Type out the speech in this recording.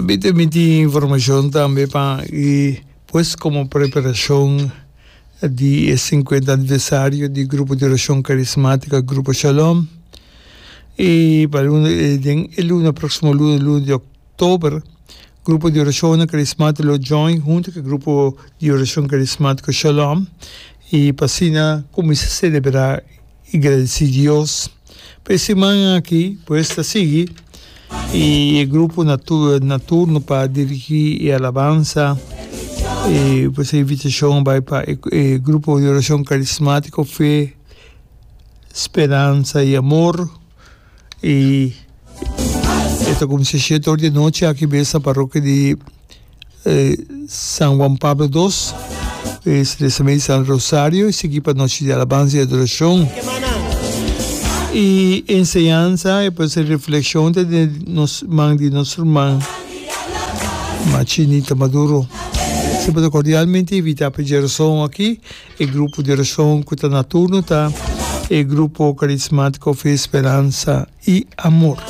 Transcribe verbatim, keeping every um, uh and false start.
Tambe tin informashon tambe pa i pues komo preparashon di e sinkuenta aniversario di Grupo di Orashon Karismátiko Grupo Shalom i pa luna den e luna próksimo luna luna di òktober Grupo di Orashon Karismátiko lo join huntu ku e Grupo di Orashon Karismátiko Shalom i pa asina kuminsá selebrá i gradisí Dios pa e siman aki pues ta sigui i e grupo na na turno pa dirigí e alabansa i pues e invitashon bai pa e grupo di orashon karismátiko Fe, Speransa i Amor i e ta kuminsá shete or di anochi aki bes na parokia di San Juan Pablo dos, e San Rosario y sigui pa nochi di alabanza y adoracion. Y enseñanza y pues reflexion ta den nos man di nos ruman Machinita Maduro. Semper ta cordialmente invita pa djerason aki e grupo di oracion cu ta na turno ta e grupo carismatico Fe, Speranza y Amor.